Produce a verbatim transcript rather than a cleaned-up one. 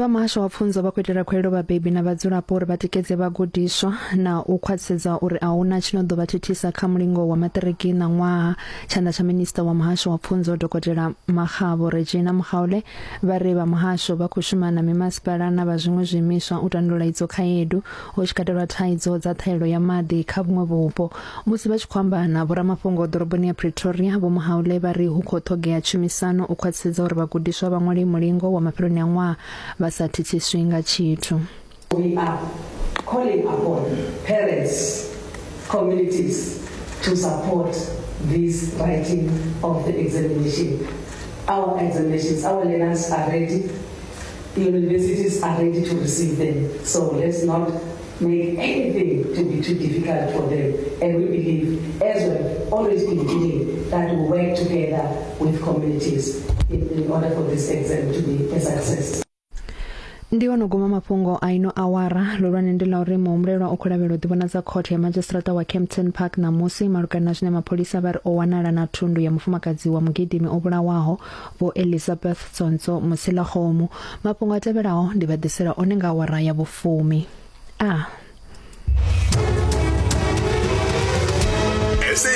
Vha muhasho wa pfunzo vha khou itela khuwelelo vhabebi na vhadzulapo uri vha tikedze vhagudiswa na u khwaṱhisedza uri a huna tshi no ḓo vha thithisa kha mulingo wa maṱiriki ṋaṅwaha. Tshanḓa tsha minisiṱa wa muhasho wa pfunzo Dokotela Makgabo Regina Mhaule vha ri vha muhasho vha khou shuma na mimasipala na vha zwiṅwe zwiimiswa u tandulula idzo khaedu, hu tshi katelwa thaidzo dza ṱhahelelo ya maḓi kha vhuṅwe vhupo. Musi vha tshi khou amba na vhoramafhungo ḓoroboni ya Pretoria, Vho Mhaule vha ri hu khou ṱhogea tshumisano u khwaṱhisedza uri vhagudiswa vha ṅwale mulingo wa mafheloni a ṅwaha vha sa thithiswi nga tshithu. We are calling upon parents, communities to support this writing of the examination. Our examinations, our learners are ready. Universities are ready to receive them. So let's not make anything to be too difficult for them. And we believe, as we've always been doing, that we work together with communities in, in order for this exam to be a success. Ndi ono guma mafhungo a ino awara. Ḽihulwane ndi ḽa uri muhumbulelwa u khou lavhelelwa u ḓivhonadza khothe ya madzhisiṱiraṱa wa Kempton Park ṋamusi malugana na zwine mapholisa vha ri o wanala na thundu ya mufumakadzi wa mugidimi o vhulawaho Vho Elizabeth Tsonzo Musilakgomu. Mafhungo a tevhelaho ndi vha ḓisela one nga awara ya vhufumi. A.